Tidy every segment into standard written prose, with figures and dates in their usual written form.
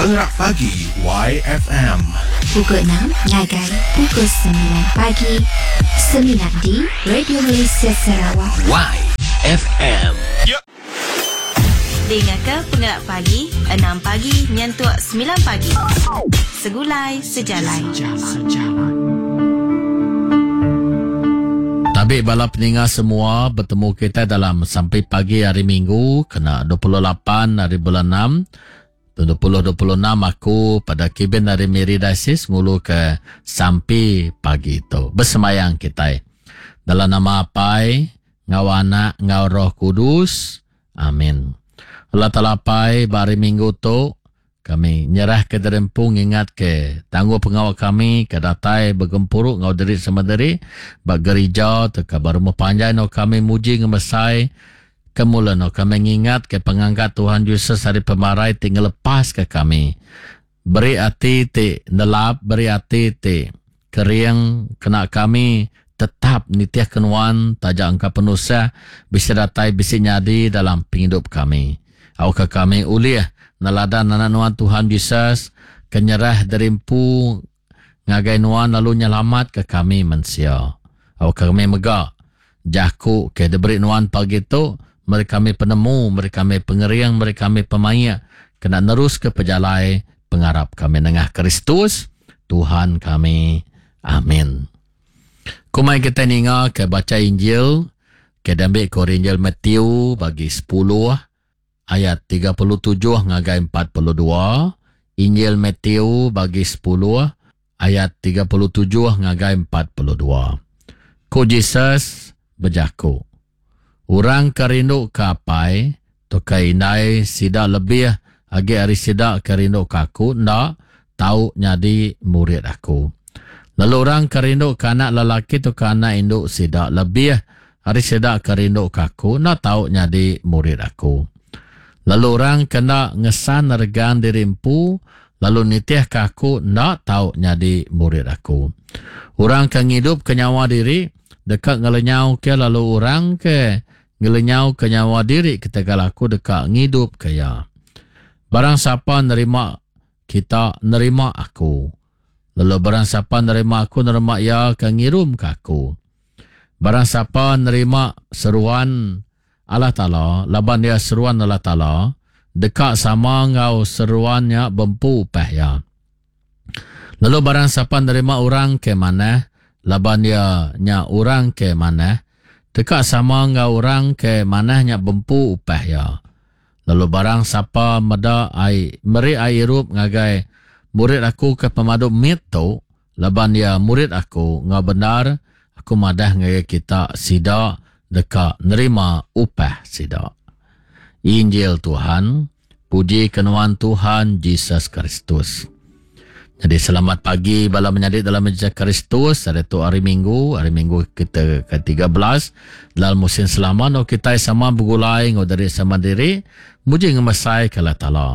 Pengerak Pagi YFM. Pukul 6 ngagai pukul 9 pagi. Semina di Radio Malaysia Sarawak. YFM. Dingaka Pengelak Pagi, enam pagi nyentuk semilan pagi. Segulai Sejalai. Tabi bala peninga semua betemu kita dalam sampai pagi hari Minggu kena 28 hari bulan 6 2026 aku pada kibin dari Miri Diocese ngulu ke sampi pagi tu. Bersemayang kita. Dalam nama Apai, ngau Anak, ngau Roh Kudus. Amin. Allah Taala Apai, ba hari Minggu tu kami nyerah ke diri empu ngingat ke tangguh pengawa kami ke datai begempuru ngau diri sama diri ba gerija tauka ba rumah panjai enggau kami muji ngemesai ke mula enggau kami ngingat ke pengangkat Tuhan Jesus ari pemarai ti ngelepas ke kami. Beri ati ti nelap, beri ati ti kering kena kami tetap nitih ke nuan taja engka penusah bisi datai bisi nyadi dalam pengidup kami. Awakka kami ulih neladan Anak Nuan Tuhan Jesus ke nyerah diri empu ngagai Nuan lalu nyelamatka kami mensia. Awakka kami mega jaku ke diberi Nuan pagi tu meri kami penemu, meri kami pengering, meri kami pemaik kena neruska pejalai pengarap kami nengah Kristus Tuhan kami. Amin. Kumai kita ninga ke bacha Injil ke diambi ke Injil Matthew bagi 10 ayat 37 ngagai 42. Injil Matthew bagi 10 ayat 37 ngagai 42. Ku Jesus bejaku, Orang ke rindu ke apai tauka indai sida lebih agi ari sida ke rindu ke aku enda tau nyadi murid aku. Lalu orang ke rindu ke anak lelaki tauka anak indu sida lebih ari sida ke rindu ke aku enda tau nyadi murid aku. Lalu orang ke enda ngesan regang diri empu lalu nitihka aku enda tau nyadi murid aku. Orang ke ngidupka nyawa diri deka ngelenyauka lalu orang ke ngelenyauka nyawa diri ketegal aku deka ngidupka iya. Barang sapa nerima kita nerima aku. Lalu barang sapa nerima aku nerima iya ke ngirumka aku. Barang sapa nerima seruan Allah Taala laban iya seruan Allah Taala deka sama enggau seruan nya bempu upah iya. Lalu barang sapa nerima orang ke manah laban iya nya orang ke manah deka sama enggau orang ke manah nya bempu upah iya. Lalu barang sapa meda ai meri ai irup ngagai murid aku ke pemadu mit tu laban iya murid aku enggau bendar aku madah ngagai kita sida deka nerima upah sida. Injil Tuhan, puji ke nuan Tuhan Jesus Kristus. Jadi selamat pagi bala menyadi dalam Jesus Kristus. Hari tu hari Minggu, hari Minggu kita ke-13 dalam musim selama no kita sama begulai ngau diri sama diri muji ngemesai ke Allah Taala.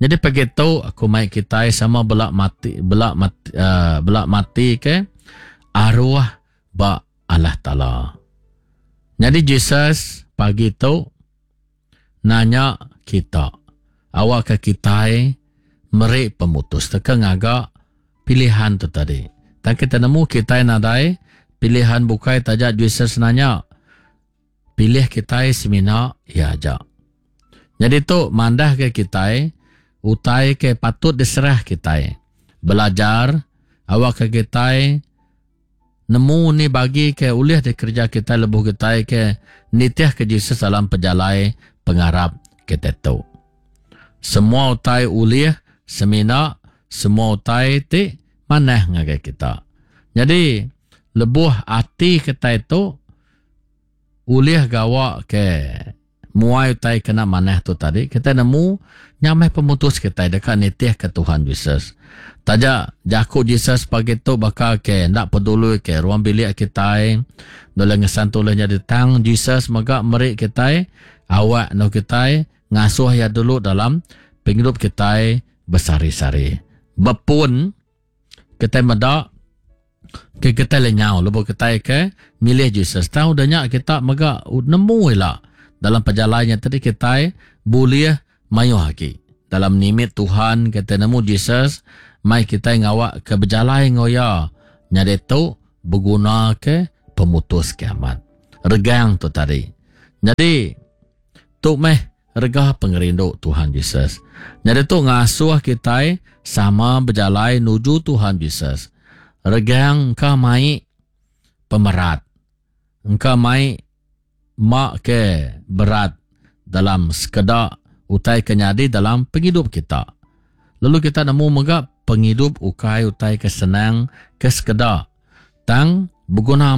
Jadi pagi tu aku mai kita sama belak mati belak mati uh, belak mati ke arwah ba Allah Taala. Jadi Jesus pagi tu nanya kita awakka kitai meri pemutus teka ngaga pilihan tu tadi. Tang kita nemu kitai nadai pilihan bukai taja Jesus nanya pilih kitai semina iya aja. Jadi tu mandah ke kitai utai ke patut diserah kitai. Belajar awakka kitai Nemu ni bagi ke ulih dikereja kitai lebuh kitai ke nitihka Jesus dalam pejalai pengarap kitai tu. Semua utai ulih semina semua utai ti manah ngagai kita. Nyadi lebuh ati kitai tu ulih gawa ke Muai utai kena manah tu tadi, kitai nemu nya meh pemutus kitai deka nitihka Tuhan Jesus. Taja jaku Jesus pagi tu baka ke enda peduli ke ruang bilik kitai, nulung ngesan tu ulih nyadi tang Jesus mega meri kitai awak enggau kitai ngasuh iya dulu dalam pengidup kitai besehari-sehari. Bepun kitai meda ke kitai lenyau lebuh kitai ke milih Jesus. Tang udah nya kita mega nemu ila dalam pejalai nya tadi kitai bulih mayuh agi. Dalam nimit Tuhan kita nemu Jesus mai kita ngawak ke bejalai enggau iya. Nyadi tu beguna ke pemutus kiamat. Regang tu tadi. Nyadi tu meh rega pengerindu Tuhan Jesus. Nyadi tu ngasuh kita sama bejalai nuju Tuhan Jesus. Regang engka mai pemerat. Engka mai mak ke berat dalam sekeda utai ke nyadi dalam penghidup kita. Lalu kita nemu mega penghidup ukai utai ke senang ke sekeda. Tang beguna amat.